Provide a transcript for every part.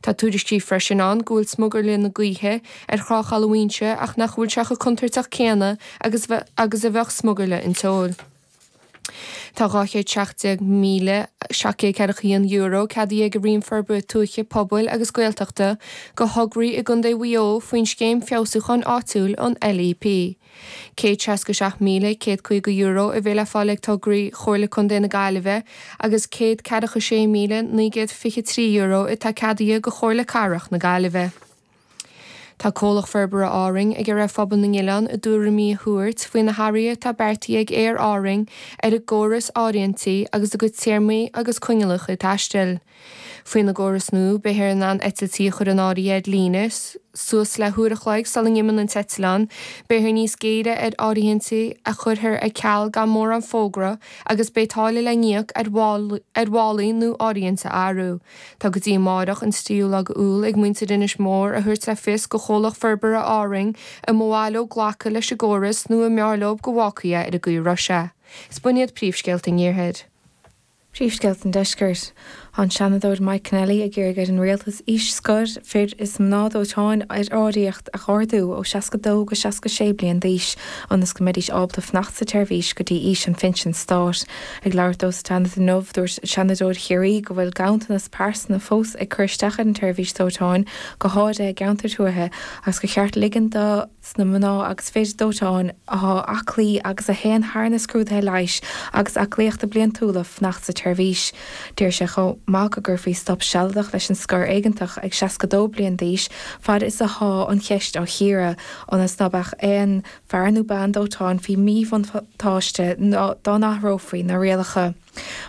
Tá tuairiscí freisin ann go bhfuil smugairle na gaoithe ar Thrá Chaladh Mhaínse ach nach bhfuil sé chomh contúirteach céanna agus agus a bheadh smugairle an tseoil. Tá €217,741 ceadaithe ag an Roinn Forbartha Tuaithe, Pobail agus Gaeltachta do thograí i gContae Mhaigh Eo faoin Scéim Feabhsúcháin Áitiúil, an LEP. €167,150 a bheidh le fáil ag tograí Chomhairle Contae na Gaillimhe agus €146,923 atá ceadaithe do Chomhairle Cathrach na Gaillimhe. Tá Comhlacht Forbartha Árainn ag iarraidh ar phobal na n-oileán a dtuairimí a thabhairt faoi na hathruithe atá beartaithe ag Aer Árainn ar a gcóras áirithintí agus a gcuid téarmaí agus coinníollacha taistil. Faoina gcóras nua, beifear in ann eitiltí a chur in áirithe ar líne suas le huair a chloig sula n-imíonn an t-eitleán, beifear níos géire ar áirithintí a chuirfear ar ceal gan mórán fógra agus beidh táille le n-íoc ar mhálaí nó áirithint a athrú. Tá go dtí amáireach, an tríú lá d'Iúil, ag muintir Inis Mór a thabhairt le fios do Chomhlacht Forbartha Árainn an mba mhaith leo glacadh leis an gcóras nó an mb'fhearr leo go bhfágfaí é ar an gcaoi a raibh sé. Is b'in iad príomhscéalta an Iarthair. Príomhscéalta an Deiscirt. Tá an Seanadóir Mike Kennelly ag iarraidh ar an Rialtas aois scoir fir is mná dóiteáin ar árthaíocht a ardú ó 62 go 66 bliain d'aois ionas go mbeidís ábalta fanacht sa tseirbhís go dtí aois an phinsin stáit. Ag labhairt dó sa Seanad inniu, dúirt Seanadóir Chiarraí go bhfuil ganntanas pearsanra fós ag cur isteach ar an tseirbhís dóiteáin, go háirithe i gceantair tuaithe, agus gur cheart ligean do. sna mná agus fir dóiteáin athá aclaí agus a théann thar na scrúduithe leighis agus aclaíochta bliantúla fanacht sa tseirbhís. D'iarr sé chomh maith go gcuirfí stop sealadach leis an scor éigeantach ag 62 bliain d'aois fad is athá an cheist á chíoradh, ionas ná beadh aon fear nó bean dóiteáin faoi mhíbhuntáiste dá n-athrófaí na rialacha.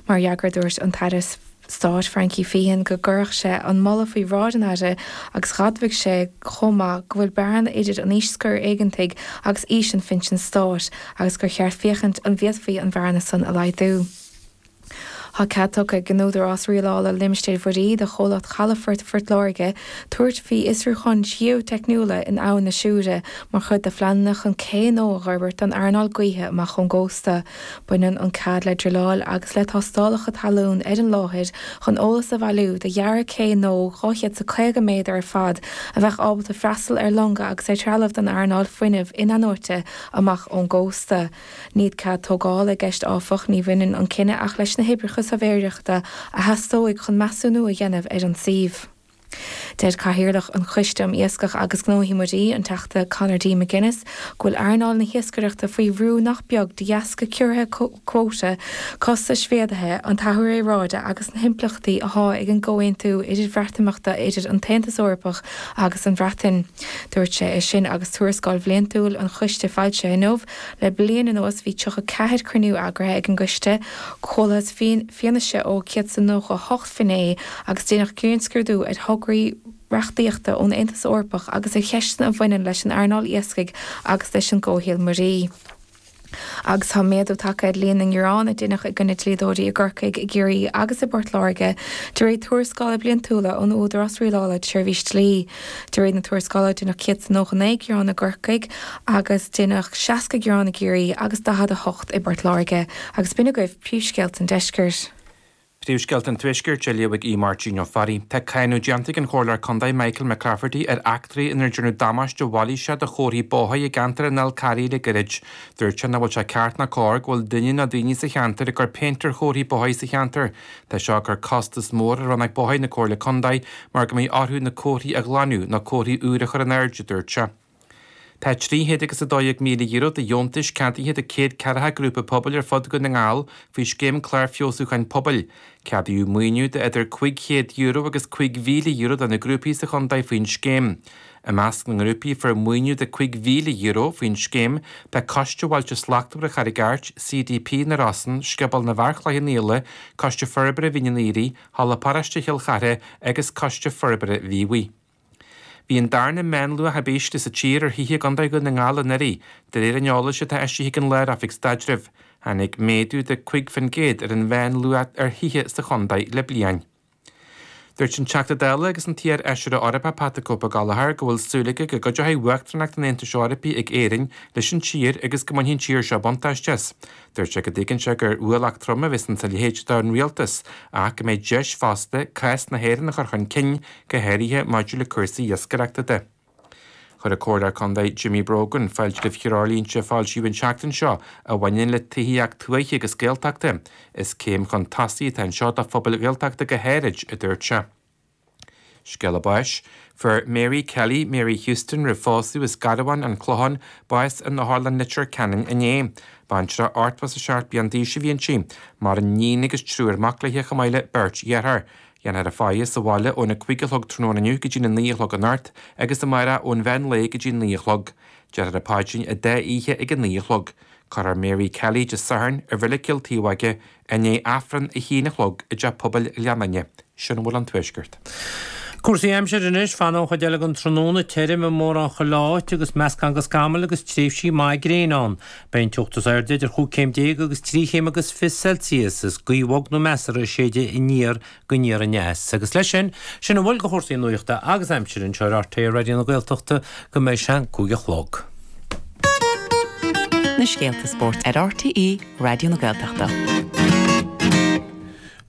Mar fhreagra dúirt an tAire Stáit Frankie Feehan go gcuirfeadh sé an moladh faoi bhráid an Aire agus dh'admhaigh sé chomh maith go bhfuil bearna idir an aois scoir éigeantaigh agus aois an phinsin stáit agus gur cheart féachaint an bhféadfaí an bhearna san a laghdú. Tá cead tugtha ag an Údarás Rialála Limistéir Mhuirí do Chomhlacht Chalafort Phort Láirge tabhairt faoi fhiosrúcháin gheoiteicniúla in Abhainn na Siúire mar chuid de phleananna chun cé nua a fhorbairt don earnáil gaoithe amach ón gcósta. Baineann an cead le druileáil agus le tástálacha talún ar an láthair chun eolas a bhailiú do dhearadh cé nua 250 méadar ar fad a bheadh ábalta freastal ar longa agus ar threalamh don earnáil fuinnimh in-athnuaite amach ón gcósta. Níl cead tógála i gceist áfach, ní bhaineann an cinneadh ach leis na hoibreacha suirbhéireachta a theastóidh chun measúnú a dhéanamh ar an suíomh. Deir Cathaoirleach an Choiste um Iascach agus Gnóthaí Muirí, an Teachta Conor D. McGuinness, go bhfuil earnáil na hiascaireachta faoi bhrú nach beag de dheasca ciorruithe cuóta, costais mhéadaithe, an t-athrú aeráide agus na himpleachtaí athá ag an gcomhaontú idir-Bhreatimeachta idir an tAontas Eorpach agus an Bhreatain. Dúirt sé é sin agus tuarascáil bhliantúil an choiste foilsithe inniu. Le bliain anuas bhí 34 cruinniú eagraithe ag an gcoiste, chualathas fianaise ó 198 finné agus deineadh grinnscrúdú ar thograí reachtaíochta ón Aontas Eorpach agus ar cheisteanna a bhaineann leis an earnáil iascaigh agus leis an gcomhshaol muirí. Agus tá méadú tagtha ar líon na ngearán a deineadh i gcoinne dlíodóirí i gCorcaigh, i gCiarraí agus i bPort Láirge de réir tuarascála bliantúla ón Údarás Rialála Seirbhís Dlí. De réir na tuarascála deineadh 199 gearán i gCorcaigh agus deineadh 60 gearán i gCiarraí agus 48 i bPort Láirge. Agus b'in agaibh príomhscéalta an deiscirt. Príomhscéalta an Tuaiscirt á léamh ag Aodh Máirtín Ó Fearraigh. Tá cáineadh déanta ag an Chomhairleoir Contae Michael McClafferty ar eachtraí inar déanadh damáiste mhailíseach do chomharthaí bóthair i gceantar an Fhál Carraigh le gairid. Dúirt sé nach bhfuil sé ceart ná cóir go bhfuil duine nó daoine sa cheantar ag cur péint ar chomharthaí bóthair sa cheantar. Tá seo ag cur costas mór ar Rannóg Bóthair na Comhairle Contae mar go mbeidh orthu na comharthaí a ghlanadh nó comharthaí úr a chur in airde, a dúirt sé. Tá €312,000 de dheontais ceadaithe do 140 grúpa pobail ar fud Dhún na nGall faoi Scéim Clár Feabhsúcháin Pobail. Ceadaíodh maoiniú de idir €500 agus €5,000 do na grúpaí sa chontae faoin scéim. I measc na ngrúpaí a fuair maoiniú de €5,000 faoin scéim tá Coiste Bhailte Slachtmhara Charraig Airt, CDP na Rosann, Scioból na bhFear Chloich Cheann Fhaola, Coiste Forbartha Mhín an Aoraigh, Halla Paróiste Chill Chartha agus Coiste Forbartha Mhíobhaigh. Bhí an darna meánluach ab ísle sa tír ar thithe i gContae Dhún na nGall anuraidh, de réir an eolais atá eisithe ag an Lár-Oifig Staidrimh. Tháinig méadú de 5% ar an mheánluach ar thithe sa chontae le bliain. Dúirt an Teachta Dála agus an t-iar-Fheisire Eorpach Pat the Cope Gallagher go bhfuil súil aige go gcuideoidh Uachtaránacht an Aontais Eorpaigh ag Éirinn leis an tír agus go mbainfidh an tír seo buntáiste as. Dúirt sé go dtuigeann sé gur ualach trom a bheas insa leithéid don rialtas ach go mbeidh deis fosta cás na hÉireann a chur chun cinn, go háirithe maidir le cúrsaí iascaireachta de. Chuir an Comhairleoir Contae Jimmy Brogan fáilte roimh threoirlínte a foilsíodh an tseachtain seo a bhaineann le tithíocht tuaithe agus Gaeltachta. Is céim chun tosaigh atá anseo do phobail Ghaeltachta go háirid, a dúirt sé. Scéala báis. Fuair Mary Kelly, Mary Houston roimh phósadh as Garbhán, An Clochán, bás in Otharlann Leitir Ceanainn inné. Baintreach 87 bliain d'aois a bhí inti. Maireann níon agus triúr mac léi chomh maith le beirt dhearthár. Déanfar a faire sa bhaile óna 5 a chlog tráthnóna inniu go dtí na 9 a chlog anocht agus amárach ón mheán lae go dtí 9 a chlog. Déarfar an paidrín an dá oíche ag a 9 a chlog. Cuirfear Mary Kelly Dé Sathairn i Reilig Chill Taobh i ndiaidh Aifreann a haon a chlog i dTeach Pobail Ghleann Fhinne. Sin a bhfuil ón Tuaisceart. Cúrsaí aimsire anois, Fanfaidh an chuid eile den tráthnóna tirim i mórán chuile áit agus meascán de scamaill agus tréimhsí maithe gréine ann. Beidh an teocht is airde idir chúig chéim déag agus trí chéim agus 20 Celsius is gaoth bhog nó measartha ag séideadh aniar go aniar aneas. Agus leis sin, sin a bhfuil de chúrsaí nuachta agus aimsire anseo ar RTÉ Raidió na Gaeltachta go mbeidh sé an 5 a chlog. Na scéalta spóirt ar RTÉ Raidió na Gaeltachta.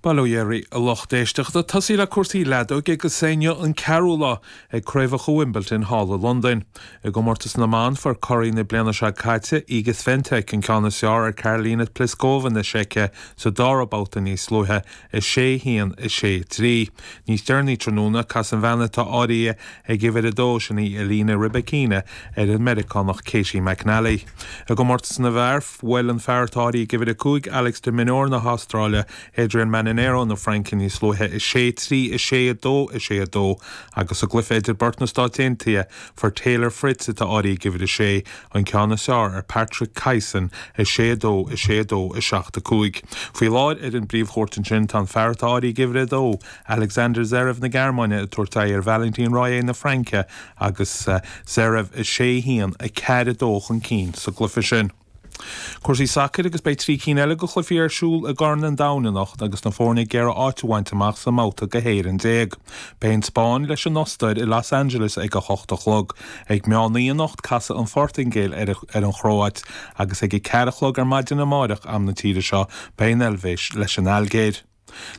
Bail ó Dhia oraibh a lucht éisteachta. Tosaí le cúrsaí leadóige agus é inniu an ceathrú lá ag Craobhacha Wimbledon thall i Londain. I gcomórtas na mban, fuair curaidh na bliana seo caite, Iga Swiatek, an ceann is fearr ar Karolina Pliskova na Seice sa dara babhta níos luaithe, 6, 1, 6, 3. Níos deireanaí tráthnóna, casfaidh an bhean atá áirithe ag uimhir 2, sin í Elena Rybakina, ar an Meiriceánach Caty McNally. I gcomórtas na bhfear, Bhuail an fear atá áirithe ag uimhir 5, Alex de Minaur na hAstráile, Adrian Manarino na Fraince níos luaithe, 6, 3, 6, 2, 6, 2, agus sa gcluiche idir beirt na Stáit Aontaithe, fuair Taylor Fritz, atá áirithe ag uimhir 6, an ceann is fearr ar Patrick Kyson, 6, 2, 6, 2, 7, 5. Faoi láthair ar an bpríomhchúirt ansin tá an fear atá áirithe ag uimhir 2, Alexander Zverev na Gearmáine, ag tabhairt aghaidh ar Valentin Royer na Fraince agus Zverev 6, 1, 4, 2 chun cinn sa gcluiche sin. Cúrsaí sacair agus beidh 3 cinn eile de chluichí ar siúl i gCorn an Domhain anocht agus na foirne ag iarraidh áit a bhaint amach sa mbabhta go hÉirinn déag. Beidh an Spáinn leis an Ostair i Los Angeles ag a hocht a chlog. Ag meán oíche anocht casfaidh an Phortaingéil ar an Chróit agus ag a ceathair a chlog ar maidin amáireach, am na tíre seo, beidh an Eilvéis leis an Ailgéir.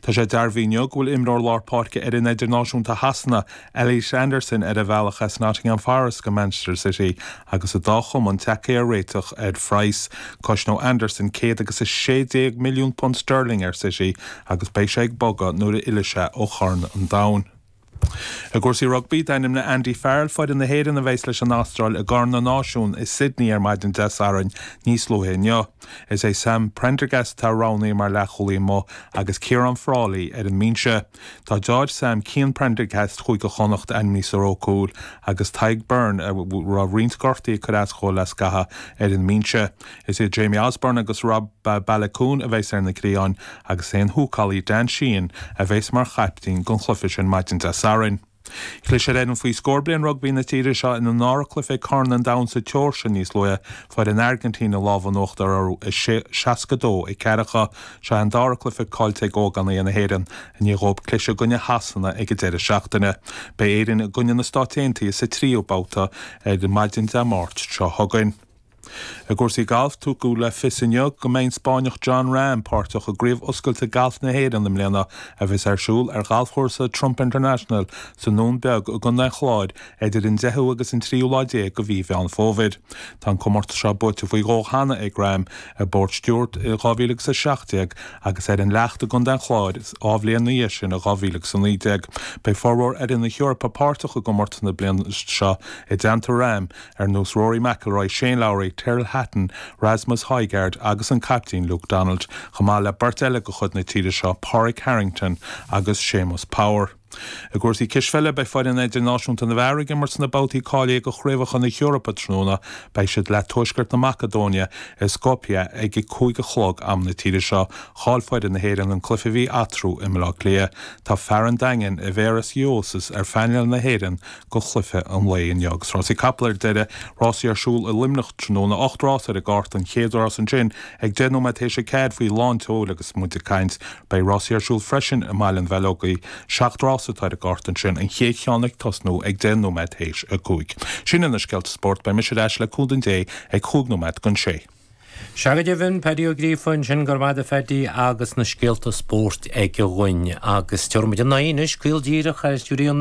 Tá sé dearbhaithe inniu go bhfuil imreoir lár páirce fhoireann idirnáisiúnta Shasana, Elliot Anderson, ar a bhealach as Nottingham Forest go Manchester City agus an dá chumann tagtha ar réiteach ar phraghas. Cosnóidh Anderson £116 milliún sterling ar City agus beidh sé ag bogadh nuair a fhillfidh sé ó Chorn an Domhain. I gcúrsaí rugbaí, d'ainmnigh Andy Farrell foireann na hÉireann a bheas leis an Astráil i gCorn na Náisiún i Sydney ar maidin Dé Sathairn níos luaithe inniu. Is é Sam Prendergast atá roghnaithe mar leathchúlaí amuigh agus Ciarán Frawley ar an mbinse. Tá deartháir Sam, Cian Prendergast Chúige Chonnacht, ainmnithe sa ró cúil agus Tadhg Beirne, a raibh roinnt gortuithe ag cur as dhó le scaitheamh, ar an mbinse. Is iad Jamie Osborne agus Rob Baloucoune a bheas ar na cliatháin agus é an húcálaí Dan Sheehan a bheas mar chaiptín don chluiche sin maidin Dé Sathairn. Chlis ar fhoireann faoi scór bliain rugbaí na tíre seo ina ndara cluiche ag Corn an Domhain sa tSeoirsia níos luaithe, fuair an Airgintín an lámh in uachtar orthu 62 4. Seo é an dara cluiche caillte ag ógánaigh na hÉireann i ndiaidh dhóibh cliseadh i gcoinne Shasana ag an deireadh seachtaine. Beidh Éirinn i gcoinne na Stáit Aontaithe sa tríú babhta ar maidin Dé Máirt seo chugainn. I gcúrsaí gailf, tugadh le fios inniu go mbeidh an Spáinneach Jon Rahm páirteach i gCraobh Oscailte Gailf na hÉireann i mbliana a bheas ar siúl ar ghalfchúrsa Trump International sa nDún Beag i gContae an Chláir idir an 10ú agus an tríú lá déag de mhí Mheán Fómhair. Tá an comórtas seo buaite faoi dhó cheana ag Rahm, i bPort Stewart i 2017 agus ar an Leacht i gContae an Chláir dhá bhliain ina dhiaidh sin i 2019. Beidh formhór fhoireann na hEorpa páirteach i gcomórtas na bliana seo i dteannta Rahm, ar nós Rory McIlroy, Shane Lowry, Tyrrell Hatton, Rasmus Højgaard agus an caiptín Luke Donald, chomh maith le beirt eile de chuid na tíre seo, Pádraig Harrington agus Séamus Power. I gcúrsaí cispheile, beidh foireann idirnáisiúnta na bhfear ag imirt sna babhtaí cáilithe do Chraobhacha na hEorpa tráthnóna. Beidh siad le Tuaisceart na Macadóine i Skopje ag a 5 a chlog am na tíre seo. Chaill foireann na hÉireann an cluiche a bhí eatarthu i mBaile Átha Cliath. Tá fear an Daingin, Aivaras Uosis, ar phainéal na hÉireann do chluiche an lae inniu. Agus rásaí capall ar deireadh, rásaí ar siúl i Luimneach tráthnóna, 8 rás ar an gcárta, an chéad rás ansin ag 10 nóiméad théis a 4 faoi lán tseoil agus muid ag caint. Beidh rásaí ar siúl freisin i mBaile an Bheileogaigh, 7 rás. Nás atá ar an gcárta ansin, an chéad cheann ag tosnú ag 10 nóiméad théis a 5. Sin iad na scéalta spóirt, beidh mise ar ais le cúnamh Dé ag chúig nóiméad don sé. Sea go deimhin, Paddy Ó Gríofa ansin, go raibh maith agat a Phaddy agus na scéalta spóirt aige dhúinn. Agus tabharfaidh muid ár n-aghaidh anois, caol díreach ar stiúideo na.